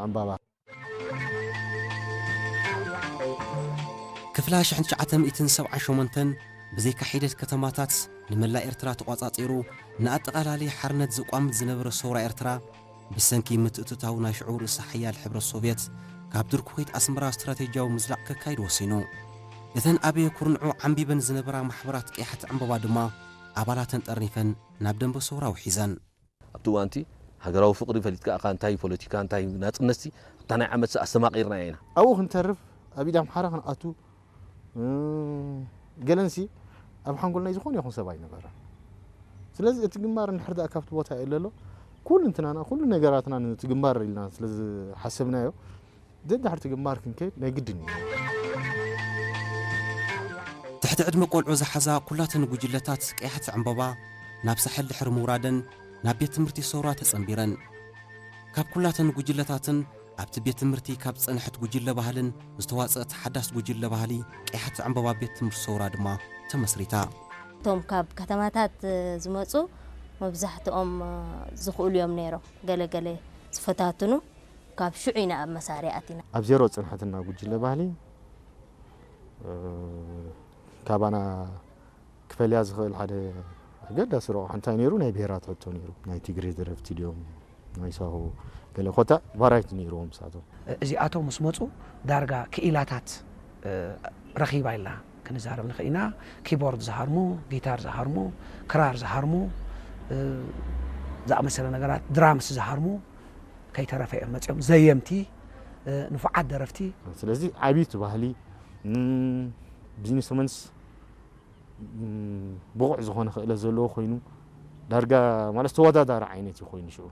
ዕምባባ። ክፍላ ሽሕን ትሽዓተ ሚእትን ሰብዓን ሸሞንተን ብዘይካ ሒደት ከተማታት ንመላእ ኤርትራ ተቋጻጺሩ ንኣጠቓላሊ ሓርነት ዘቋምት ዝነበረ ሰውራ ኤርትራ ብሰንኪ ምትእትታው ናይ ሽዑ ርእሰ ሓያል ሕብረት ሶቭየት ካብ ድርኩኺት ኣስመራ ስትራቴጂያዊ ምዝላቕ ከካይድ ወሲኑ። እተን ኣብ ኩርንዑ ዓምቢበን ዝነበራ ማሕበራት ቀያሕቲ ዕምባባ ድማ ኣባላተን ጠርኒፈን ናብ ደንበ ሰውራ ውሒዘን። ኣብቲ እዋንቲ ሃገራዊ ፍቕሪ ፈሊጥካ ኢኻ እንታይ ፖለቲካ እንታይ ናጽነትሲ ኣብታ ናይ ዓመትሲ ኣስተማቒርናዮ ኢና። ኣብኡ ክንተርፍ ኣብ ኢድ ኣምሓራ ክንኣቱ ገለንሲ ኣብ ሓንጎል ናይ ዝኾነ ይኹን ሰብ ኣይነበረ። ስለዚ እቲ ግንባር እንድሕር ደኣ ካብቲ ቦታ የለሎ ኩሉ እንትናና ኩሉ ነገራትና ነቲ ግንባር ኢልና ስለ ዝሓሰብናዮ ደድሕርቲ ግንባር ክንከይድ ናይ ግድን እዩ። ትሕቲ ዕድመ ቆልዑ ዝሓዛ ኩላተን ጉጅለታት ቀያሕቲ ዕምበባ ናብ ሳሕል ድሕሪ ምውራደን ናብ ቤት ትምህርቲ ሰውራ ተጸንቢረን። ካብ ኩላተን ጉጅለታትን ኣብቲ ቤት ትምህርቲ ካብ ዝጸንሐት ጉጅለ ባህልን ዝተዋጸእት ሓዳስ ጉጅለ ባህሊ ቀያሕቲ ዕምበባ ቤት ትምህርቲ ሰውራ ድማ ተመስሪታ። እቶም ካብ ከተማታት ዝመጹ መብዛሕትኦም ዝኽእሉ እዮም ነይሮም። ገለ ገለ ዝፈታትኑ ካብ ሽዑ ኢና ኣብ መሳርያ ኣቲና። ኣብ ዜሮ ዝጸንሐትና ጉጅለ ባህሊ ካባና ክፈልያ ዝኽእል ሓደ ኣገዳሲ ረቑሓ እንታይ ነይሩ? ናይ ብሄራት ሕቶ ነይሩ። ናይ ትግሬ ደረፍቲ ድዮም? ናይ ሳሆ ገለ ኮታ ቫራይቲ ነይርዎም ንሳቶም። እዚኣቶም ምስ መፁ ዳርጋ ክኢላታት ረኺባ ኢልና ክንዛረብ ንኽእል ኢና። ኪቦርድ ዝሃርሙ፣ ጊታር ዝሃርሙ፣ ክራር ዝሃርሙ ዝኣመሰለ ነገራት፣ ድራምስ ዝሃርሙ ከይተረፈ እዮም መፂኦም። ዘየምቲ፣ ንፉዓት ደረፍቲ። ስለዚ ዓብይቲ ባህሊ ቢዝነስመንስ ብቑዕ ዝኾነ ክእለት ዘለዎ ኮይኑ ዳርጋ ማለት ተወዳዳሪ ዓይነት እዩ ኮይኑ ሽዑ።